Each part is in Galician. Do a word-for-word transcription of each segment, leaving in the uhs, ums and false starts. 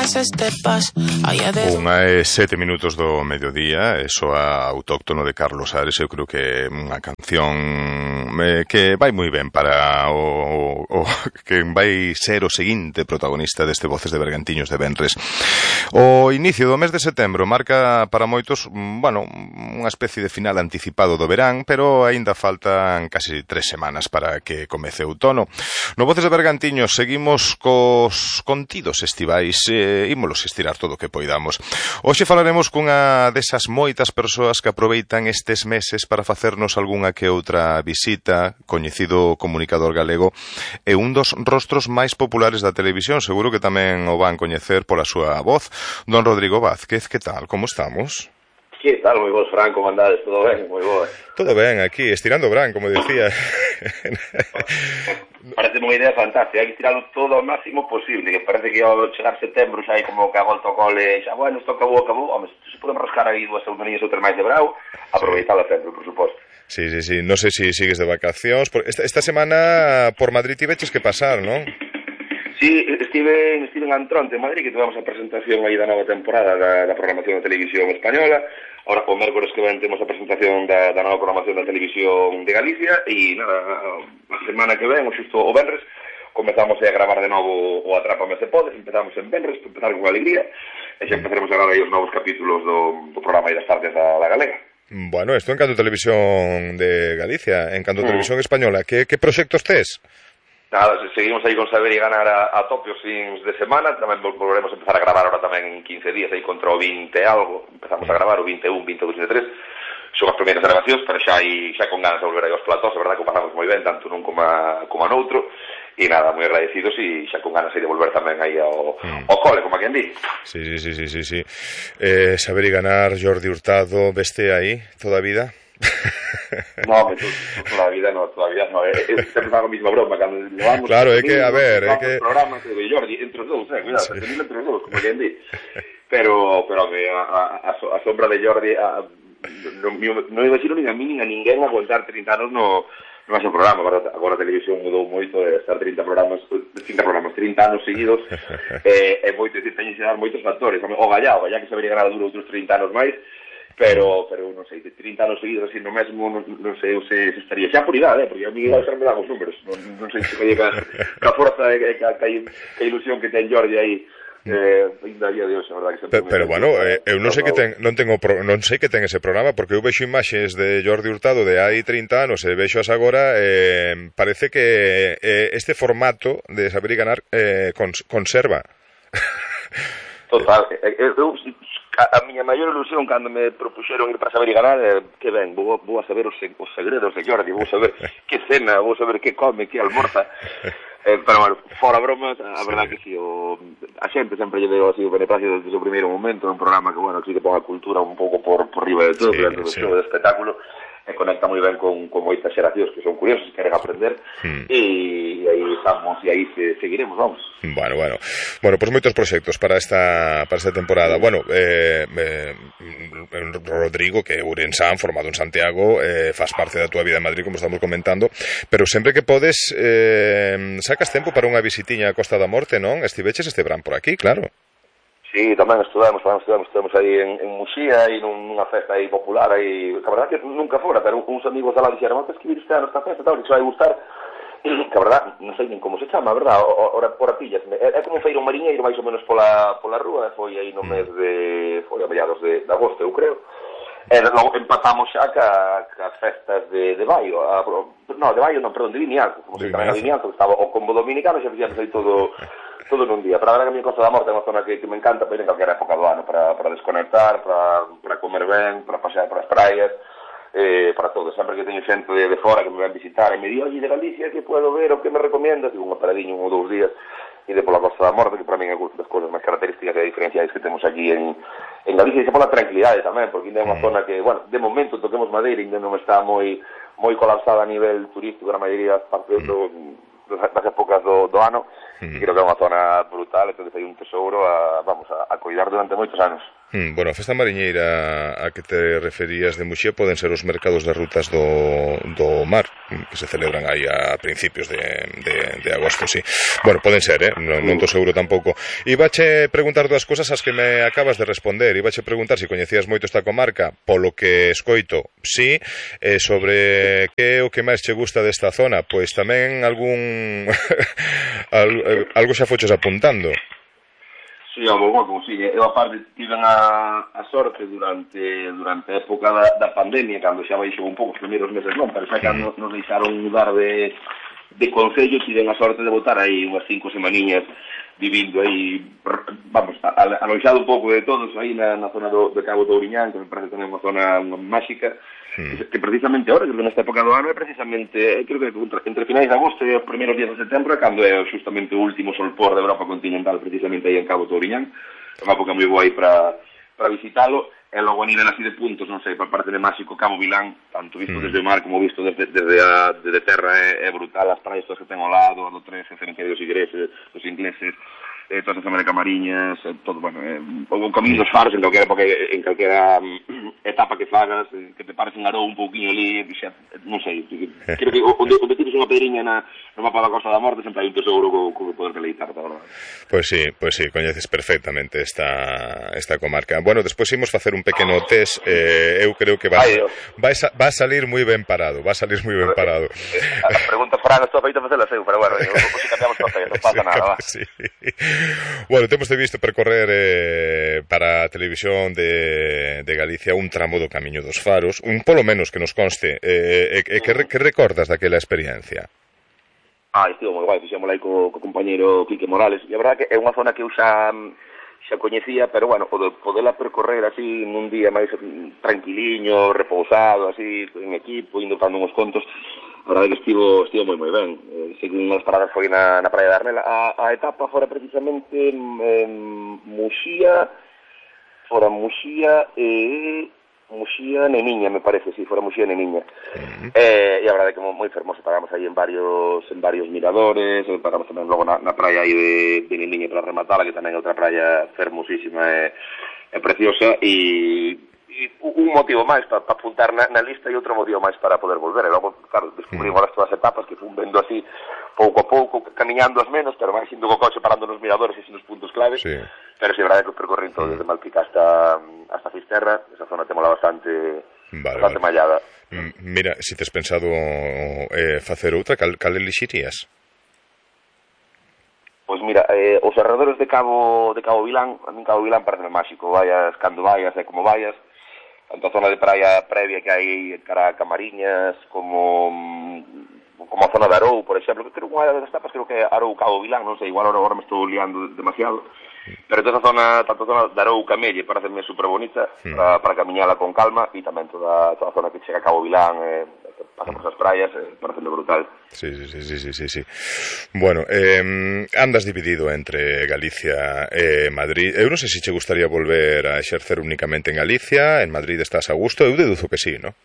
Unha e sete minutos do mediodía, eso a autóctono de Carlos Ares. Eu creo que é unha canción eh, que vai moi ben para o, o que vai ser o seguinte protagonista deste Voces de Bergantiños de Venres. O inicio do mes de setembro marca para moitos, bueno, unha especie de final anticipado do verán, pero aínda faltan casi tres semanas para que comece o outono. No Voces de Bergantiños seguimos cos contidos estivais, e eh, ímolos estirar todo o que poidamos. Hoxe falaremos cunha desas moitas persoas que aproveitan estes meses para facernos algunha que outra visita, coñecido comunicador galego e un dos rostros máis populares da televisión. Seguro que tamén o van coñecer pola súa voz. Don Rodrigo Vázquez, que tal? Como estamos? Que tal? Moi vos, Fran, como andades? Todo ben? Moi boas. Todo ben, aquí, estirando o bran, como decía. Parece unha idea fantástica, hai que tirarlo todo ao máximo posible, que parece que ao chegar setembro xa hai como que a volta ao cole, xa, bueno, isto acabou, acabou, home, se podemos rascar aí dúas semaninhas ou tres máis de brau, aproveitala sempre, por suposto. Sí, sí, sí, non sei se si sigues de vacacións, esta, esta semana por Madrid tiveches que pasar, non? Sí, estive, estive en Antronte, en Madrid, que tivemos a presentación aí da nova temporada da, da programación da televisión española. Ahora, o mércores que ven, temos a presentación da, da nova programación da televisión de Galicia, e nada, a semana que ven, o xusto o Venres, comezamos a gravar de novo o Atrápame se podes. Empezamos en Venres, empezar con alegría, e xa empezaremos a gravar aí os novos capítulos do, do programa aí das tardes da, da Galega. Bueno, isto en canto televisión de Galicia, en canto mm. televisión española, que, que proxectos tes? Nada, seguimos aí con saber e ganar a, a tope os fins de semana. Tamén volveremos a empezar a gravar ahora tamén en quince días, aí contra o vinte algo. Empezamos a gravar o vinte e un, vinte e dous, vinte e tres. Son as primeiras grabacións, pero xa hai, xa con ganas de volver aí aos platós. A verdade que o pasamos moi ben, tanto nun como a, como a noutro. E nada, moi agradecidos e xa con ganas de volver tamén aí ao, mm. ao cole, como a quen di. Sí, sí, sí, sí, sí, sí. Eh, saber e ganar, Jordi Hurtado, veste aí toda a vida? No, me, toda a vida no, todavía no, é, é sempre fago a mesma broma cando levamos. Claro, é que, a ver, é que programas de Jordi, entre os dous, eh, cuidado, sí. Entre os dous, como quen di. Pero, pero a, a, a sombra de Jordi, a, non no imagino nin a mí nin a ninguén aguantar trinta anos no, no máis programa. Agora, agora a televisión mudou moito, de estar trinta programas, trinta programas, trinta anos seguidos, é, é moito, decir, teñen que dar moitos factores. O Gallá, o Gallá que sabería ganar duro outros trinta anos máis, pero, pero non sei, de trinta anos seguidos así no mesmo, non, non sei se, se estaría xa por idade, eh, porque a mí igual xa me dan os números, non, non sei se calle ca, ca forza e ca, ca, ca ilusión que ten Jordi aí, eh, ainda día de hoxe, a verdad que sempre. Pero, pero bueno, eh, eu non sei que ten, non tengo pro, non sei que ten ese programa, porque eu vexo imaxes de Jordi Hurtado de hai trinta anos e vexo as agora, eh, parece que eh, este formato de saber e ganar eh, cons, conserva. Total, eu, eu a, a miña maior ilusión cando me propuxeron ir para saber e ganar é que ben, vou, vou a saber os, os segredos de Jordi, vou saber que cena, vou saber que come, que almorza. Eh, pero, bueno, fora bromas, a verdad sí. Que si, o, a xente sempre lle deu así o beneficio desde o primeiro momento, un programa que, bueno, que sí que pon a cultura un pouco por, por riba de todo, sí, dentro do sí. Show de espectáculo, e conecta moi ben con, con moitas xeracións que son curiosos e queren aprender, mm. e, e aí estamos, e aí se, seguiremos, vamos. Bueno, bueno, bueno, pois pues moitos proxectos para esta para esta temporada. Bueno, eh, eh, Rodrigo, que é ourensán, formado en Santiago, eh, faz parte da túa vida en Madrid, como estamos comentando, pero sempre que podes, eh, sacas tempo para unha visitiña a Costa da Morte, non? Estiveches este verán por aquí, claro. Sí, tamén estudamos, tamén estudamos, estudamos aí en, en Muxía, aí nunha festa aí popular, aí, a verdad que nunca fora, pero uns amigos da lá dixeron, que escribir este ano esta festa, tal, que se vai gustar, que a verdad, non sei nin como se chama, a verdad, ora por pillas, é, é como un feiro mariñeiro, máis ou menos pola, pola rúa, foi aí no mes de, foi a mediados de, de agosto, eu creo, e logo empatamos xa ca, ca festas de, de Baio, a, no, de Baio non, perdón, de Vimianzo, como se chama, de Vimianzo, que estaba o combo dominicano, xa fixamos aí todo... todo nun día. Para a verdade que a mi Costa da Morte é unha zona que, que me encanta para ir en calquera época do ano, para, para desconectar, para, para comer ben, para pasear por as praias, eh, para todo. Sempre que teño xente de, de fora que me ven visitar e me di, oye, de Galicia, que puedo ver o que me recomiendas? Digo, unha paradinha un ou dous días e de pola Costa da Morte, que para mí é unha das cousas máis características e diferenciais que temos aquí en, en Galicia, e xa pola tranquilidade tamén, porque ainda é unha mm. zona que, bueno, de momento toquemos madeira, ainda non está moi moi colapsada a nivel turístico na maioría das partes mm. do, das épocas do, do ano. Mm. Creo que é unha zona brutal, entón hai un tesouro a, vamos, a, a cuidar durante moitos anos. Mm, bueno, a festa mariñeira a que te referías de Muxía poden ser os mercados de rutas do, do mar, que se celebran aí a principios de, de, de agosto, sí. Bueno, poden ser, eh? non, non tô seguro tampouco. Ibache preguntar dúas cousas as que me acabas de responder. Ibache preguntar se coñecías moito esta comarca, polo que escoito, sí, eh, sobre que é o que máis che gusta desta zona, pois tamén algún algo xa foches apuntando. Sí, ao bo, como si, eu aparte tiven a, a sorte durante durante a época da, da pandemia, cando xa baixou un pouco os primeiros meses, non, pero xa cando nos deixaron mudar de, de concello, tiven a sorte de botar aí unhas cinco semaniñas vivindo aí, vamos, aloixado un pouco de todos aí na, na zona do, de Cabo Touriñán, que me parece tamén unha zona máxica, mm. que precisamente ahora, que nesta época do ano, é precisamente, creo que entre finais de agosto e os primeiros días de setembro, cando é justamente o último solpor da Europa continental, precisamente aí en Cabo Touriñán, é unha época moi boa aí para para visitalo, e logo a nivel así de puntos, non sei, para parte de máxico, Cabo Vilán, tanto visto mm. desde o mar como visto desde, desde, a, desde terra, é, é brutal, as praias todas que ten ao lado, a do tres, o cementerio dos ingleses, dos ingleses, eh, toda esa zona de Camariñas, eh, todo, bueno, eh, o camiño dos faros en calquera, porque en calquera um, etapa que fagas, eh, que te pares en Arou un pouquinho ali, xa, non sei, creo que onde, onde tires unha pedriña na, no mapa da Costa da Morte sempre hai un tesouro co, co que poder deleitar, tá, verdade? Pois sí, pois sí, coñeces perfectamente esta, esta comarca. Bueno, despois imos facer un pequeno test, eh, eu creo que va, vai, va a salir moi ben parado, va a salir moi ben parado. A pregunta Fran, estou feito a facelas eu, pero bueno, se cambiamos papel, non pasa nada, va. Sí. Bueno, temos de visto percorrer eh, para a televisión de, de Galicia un tramo do Camiño dos Faros, un polo menos que nos conste, eh, eh, que, que recordas daquela experiencia? Ah, estivo moi guai, fixémola aí co, co compañeiro Quique Morales, e a verdade que é unha zona que eu xa, xa coñecía, pero bueno, o de poderla percorrer así nun día máis tranquiliño, repousado, así, en equipo, indo dando uns contos, a verdade que estivo, estivo moi moi ben. Eh, segundo unhas paradas foi na, na Praia de Armela. A, a etapa fora precisamente en Muxía, fora Muxía e Muxía Neniña, me parece, si, sí, fora Muxía Neniña. Uh-huh. eh, e a verdade que moi fermoso, paramos aí en varios en varios miradores, paramos tamén logo na, na praia aí de, de Neniña para rematarla, que tamén é outra praia fermosísima e, e preciosa, e un motivo máis para pa apuntar na, na lista e outro motivo máis para poder volver. E logo, claro, descubrimos as todas as etapas que fun vendo así pouco a pouco, camiñando as menos, pero máis indo co coche parando nos miradores e nos puntos claves. Sí. Pero si, sí, é verdade que percorren todo desde Malpica hasta, hasta Fisterra, esa zona temola bastante, vale, bastante vale. mallada. Mira, se si tes pensado eh, facer outra, cal, cal elixirías? Pois mira, eh, os arredores de Cabo de Cabo Vilán, a min Cabo Vilán parece máxico, vayas cando vayas e como vayas, tanto a zona de praia previa que hai cara a Camariñas, como como a zona de Arou, por exemplo, que creo que unha das etapas, creo que é Arou Cabo Vilán, non sei, igual ahora, agora me estou liando demasiado, pero toda a zona, tanto a zona de Arou Camelle, pareceme super bonita, mm. para, para camiñala con calma, e tamén toda, toda a zona que chega a Cabo Vilán, eh, pasa por esas praias, eh, parecendo brutal. Sí, sí, sí, sí, sí, sí. Bueno, eh, andas dividido entre Galicia e Madrid. Eu non sei se che gustaría volver a exercer únicamente en Galicia, en Madrid estás a gusto, eu deduzo que sí, ¿no?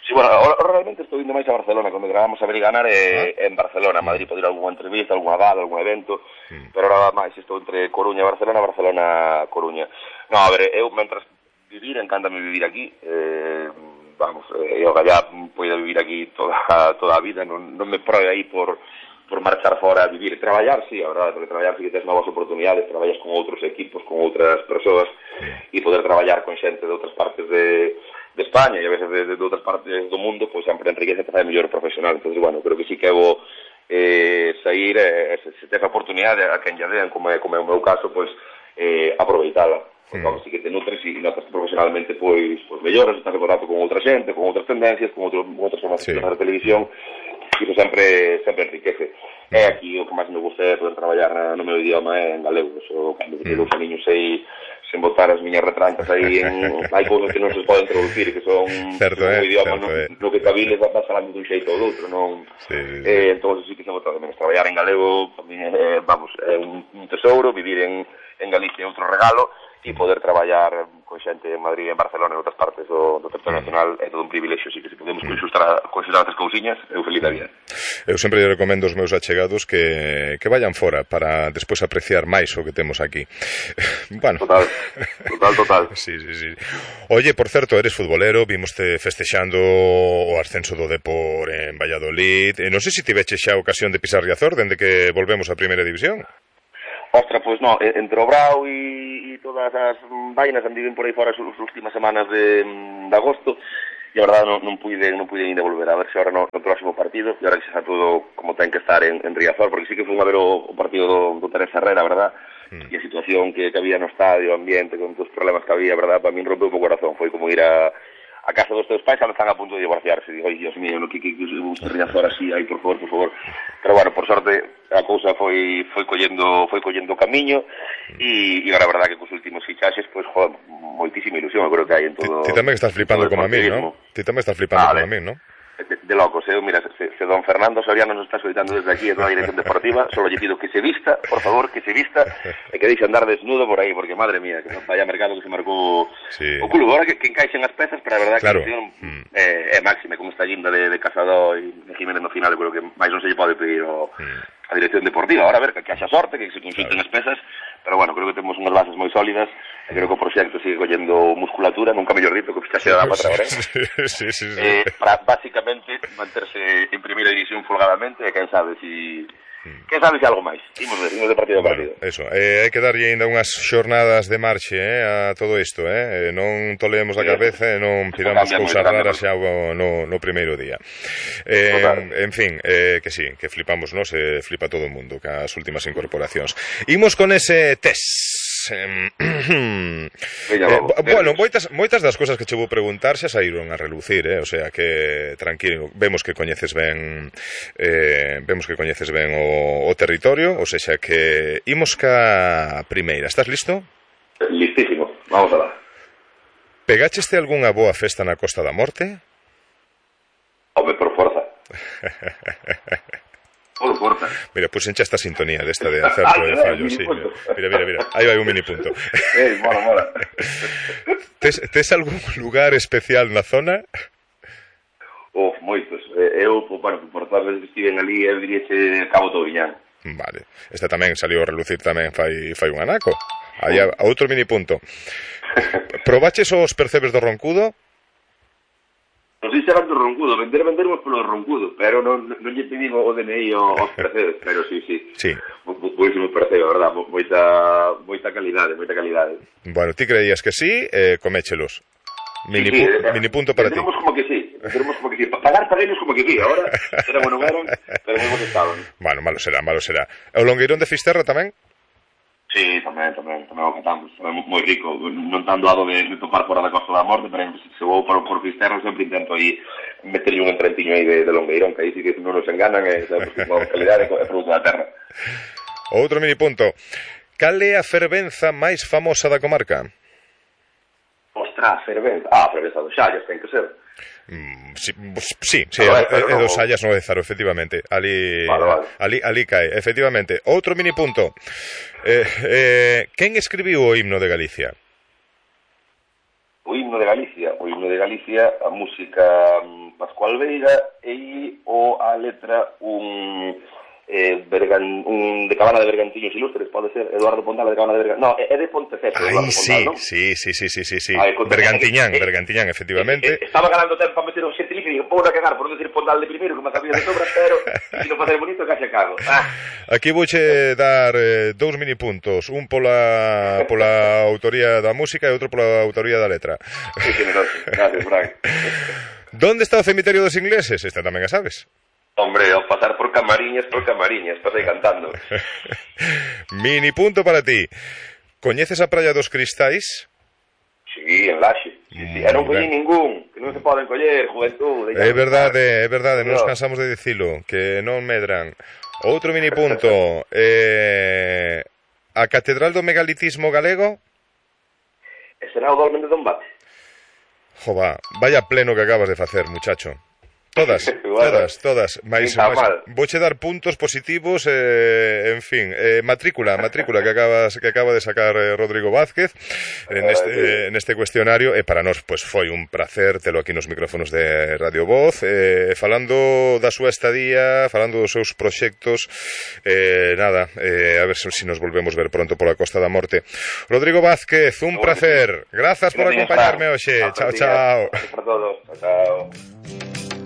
Sí, bueno, ahora realmente estou indo máis a Barcelona, cando gravamos a ver e ganar é ah. en Barcelona, Madrid pode ir a algunha entrevista, algunha gala, algún evento, mm. pero ahora máis estou entre Coruña e Barcelona, Barcelona Coruña. No, a ver, eu mentras vivir, encántame vivir aquí, eh, vamos, eh, eu ya poida vivir aquí toda, toda a vida, non, non me proe aí por, por marchar fora a vivir. Traballar, sí, a verdade, porque traballar sí que tens novas oportunidades, traballas con outros equipos, con outras persoas, e poder traballar con xente de outras partes de, de España e a veces de, de, de outras partes do mundo, pois sempre enriquece te fai mellor profesional. Entón, bueno, creo que sí que vou eh, sair, eh, se, se tens a oportunidade a quen lle den, como é, como é o meu caso, pois eh, aproveitala. Porque, vamos, sí que te nutres e notas profesionalmente pois, pois melloras, estás en contacto con outra xente, con outras tendencias, con, outro, con outras formas sí. de televisión, e iso sempre, sempre enriquece. Mm. E aquí o que máis me gusta é poder traballar no meu idioma é en galego. Eso, cando mm. dous aniños sei sen botar as miñas retrancas aí en... hai cousas que non se poden traducir, que son certo, un eh, idioma certo, no, eh. no que cabiles vas falando dun xeito ou doutro, non? Sí, sí, sí. Eh, entón, sí que se botar tamén. Traballar en galego, tamén, eh, vamos, é un, un tesouro, vivir en, en Galicia é outro regalo, e poder traballar con xente en Madrid, en Barcelona e en outras partes do, do territorio nacional é todo un privilexio, así que se podemos conxustar conxustar as cousiñas, eu feliz da vida. Eu sempre lle recomendo aos meus achegados que, que vayan fora para despois apreciar máis o que temos aquí. Bueno. Total, total, total. Sí, sí, sí. Oye, por certo, eres futbolero, vimoste festexando o ascenso do Depor en Valladolid. E non sei se tiveche xa a ocasión de pisar Riazor dende que volvemos a Primeira División. Ostra, pois non, entre o Brao e, e todas as vainas andiven por aí fora as últimas semanas de, de agosto e a verdade non, non pude non pude ainda volver a ver se ahora no, no próximo partido e ahora que xa está todo como ten que estar en, en Riazor, porque sí que fui a ver o, o partido do, do Teresa Herrera, verdad? Mm. E a situación que, que había no estadio, o ambiente, con todos os problemas que había, verdad? Para mí rompeu o corazón, foi como ir a a casa dos teus pais, están a punto de divorciarse. Digo, ai, Dios mío, no que que que gusta Riazor así, ai, por favor, por favor. Pero bueno, por sorte a cousa foi foi collendo foi collendo camiño e e a verdade que cos últimos fichaxes, pois, pues, joder, moitísima ilusión, eu creo que hai en todo. Ti tamén estás flipando como a mí, ¿no? Ti tamén estás flipando como a mí, ¿no? De, de locos, eh? Mira, se, se don Fernando Soriano nos está solicitando desde aquí, en toda a dirección deportiva, solo lle pido que se vista, por favor, que se vista, e que deixe andar desnudo por aí, porque, madre mía, que vaya mercado que se marcou sí. O club, ahora que, que encaixen as pezas, pero a verdade claro. Que a mm. é, é máxima, como está Ginda de, de Casado e de Jiménez no final, eu creo que máis non se lle pode pedir o, mm. a dirección deportiva, ahora a ver, que, que haxa sorte, que se consulten claro. As pezas, pero bueno, creo que temos unhas bases moi sólidas, e creo que o proxecto sigue collendo musculatura, nunca mellor dito, que fichaxe da para agora, eh? Sí, sí, sí. Eh, para, básicamente, manterse en primeira división folgadamente, e quen sabe si... Quen sabe se algo máis? Imos ver, imos de partido a partido. Bueno, eso, eh, hai que darlle ainda unhas xornadas de marche eh, a todo isto, eh? Non toleemos a cabeza e non pidamos cousas raras xa no, no primeiro día. Eh, en fin, eh, que sí, que flipamos, ¿no? Se flipa todo o mundo cas últimas incorporacións. Imos con ese test. Eh, eh, bueno, moitas, moitas das cousas que che vou preguntar xa saíron a relucir, eh? O sea que tranquilo, vemos que coñeces ben eh, vemos que coñeces ben o, o territorio, ou seja que imos ca primeira. Estás listo? Listísimo, vamos a lá. Pegácheste algunha boa festa na Costa da Morte? Home, por forza. Por forza. Mira, pues encha esta sintonía de esta de acerto de fallo, sí. Mira, mira, mira, aí vai un mini punto. Eh, mola, mola. Tes, tes algún lugar especial na zona? Oh, moitos. Eu, bueno, por todas as veces que estiven ali, eu diríaxe Cabo Tobiñán. Vale. Esta tamén saliu a relucir tamén fai, fai un anaco. Aí a, a outro mini punto. Probaches os percebes do Roncudo? Non sei se eran do Roncudo, vender vendermos polo Roncudo, pero non, non lle pedín o D N I aos percebes, pero sí, sí. Sí. Buísimo percebe, a verdad, moita, moita calidade, moita calidade. Bueno, ti creías que sí, eh, coméchelos. Mini, sí, sí, pu mini punto para ti. Tenemos como que sí, tenemos como que sí. Pagar paguenos como que sí, ahora era bueno, eran, pero hemos estado. Bueno, malo será, malo será. O Longueirón de Fisterra tamén? Sí, tamén, tamén, tamén o catamos, tamén moi rico, non tan doado de, de topar fora da Costa da Morte, pero se vou por, por Fisterra sempre intento aí meterlle un entretiño aí de, de Longueirón, que aí sí que non nos enganan, e sabes, con calidade é produto da terra. Outro mini punto, cal é a fervenza máis famosa da comarca? Ostras, fervenza, ah, fervenza do Xallas, ten que ser. Mm, sí, sí, sí, é, é dos Xallas no Ézaro, efectivamente. Ali, vale, vale. ali, ali cae, efectivamente. Outro mini punto. Eh, eh, quen escribiu o himno de Galicia? O himno de Galicia, o himno de Galicia, a música um, Pascual Veiga e o a letra un eh, Bergan, un de Cabana de Bergantiños Ilustres, pode ser Eduardo Pondal de Cabana de Bergantiños. No, é de Ponteceso, Eduardo sí, Pondal, non? Sí, sí, sí, sí, sí, sí. Ay, Bergantiñán, eh, Bergantiñán, efectivamente. Eh, eh, estaba ganando tempo para meter un xentilicio e digo, pou na cagar por non decir Pondal de primeiro, que me sabía de sobra, pero se non facer bonito, que xa cago. Ah. Aquí vouche dar eh, dous mini puntos, un pola pola autoría da música e outro pola autoría da letra. Sí, generoso. Gracias, Frank. ¿Dónde está o cemiterio dos ingleses? Esta tamén a sabes. Hombre, ao pasar por Camariñas, por Camariñas, pasei cantando. Mini punto para ti. Coñeces a Praia dos Cristais? Sí, en Laxe. Sí, sí. E non collí ningún, que non se poden coller, juventud. É verdade, é verdade, non nos cansamos de dicilo, que non medran. Outro mini punto. eh, a Catedral do Megalitismo Galego? E será o Dolmen de Dombate? Jova, vaya pleno que acabas de facer, muchacho. Todas, bueno, todas, todas. Mais, mais, vouche dar puntos positivos, eh, en fin, eh, matrícula, matrícula que acabas que acaba de sacar eh, Rodrigo Vázquez en este, eh, neste cuestionario, e para nós pues foi un placer telo aquí nos micrófonos de Radio Voz, eh, falando da súa estadía, falando dos seus proxectos, eh, nada, eh, a ver se si nos volvemos ver pronto pola Costa da Morte. Rodrigo Vázquez, un placer. Grazas por acompañarme hoxe. Chao, chao. Para todos. Chao.